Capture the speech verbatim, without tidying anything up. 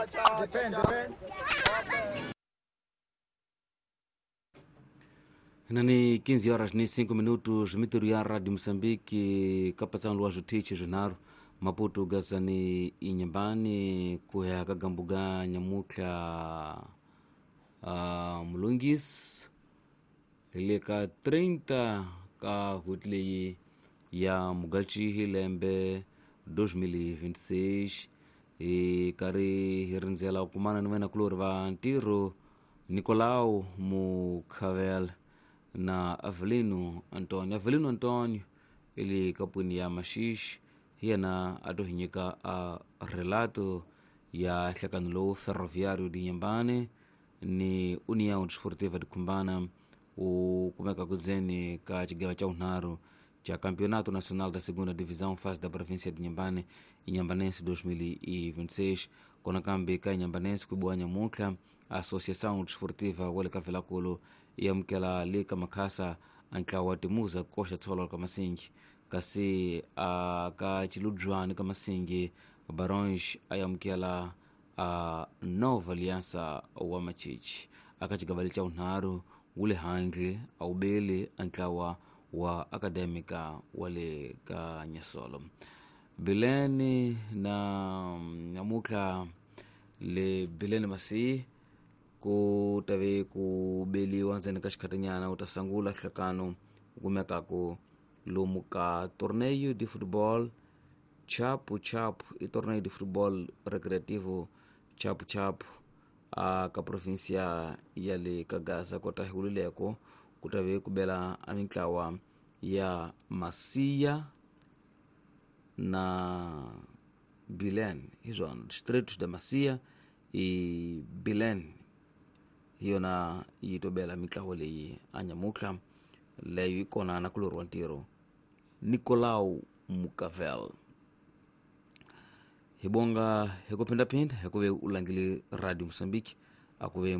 Depend, depend. Nani quinze horas ni cinco minutos, mitiru ya Radio Mozambique, kapatsan luajo tichi zvinharu Maputo gazani Inhambane kuya kagambuga nyamutlha uh, Mulungis hi le ka trinta ka n'hweti leyi ya Mugachi hi lembe dois mil e vinte e seis hi karhi hi rindzela ku kumana ni venakulorhi va ntirho Nicolau Mukhavel na Avelino Antonio. Avelino Antonio i le kapwini ya Maxixi, hi yena a to hi nyika a relato ya nhlekano lowu Ferroviário de Inhambane ni União Desportiva de Cumbana wu kumeka kudzeni ka xigava xa vunharhu xa Campeonato Nacional da Segunda Divisão fase da província de Inhambane, Inhambanense dois mil e vinte e seis. Kona kambe ka Inhambanense ku biwa nyamuntlha Associação Desportiva wa le ka Vilankulu yi amukela le ka Makhasa a ntlawa wa Timuza koxa tsholo ka Masingi, kasi a ka Chiludzwani ka Masingi Barões a amukela a Nova Aliança wa Machichi. Aka xigava xa vunharhu wu le handle a wu beli a ntlawa wa Académica wa le ka Nyasolo. Bileni na nyamutlha le Bileni Masi ku tave ku beliwa ndzeni ka xikhatinyana u ta sungula nhlekano wu kumekaku lomu ka torneio de futebol Chapu Chapu, i torneio de futebol recreativo Chapu Chapu a ka província ya le ka Gaza. Kota hi wulileko ku tave ku bela a mintlawa ya Masia na Bilen, hi swona distritos da Masia i Bilen hi yona yi to bela mintlawa leyi a nyamutlha leyo yi kona na kulorhi wa ntirho Nicolau Mukavel. Hi bonga hi ku phindaphinda hi ku ve u langile Radio Mozambique a ku ve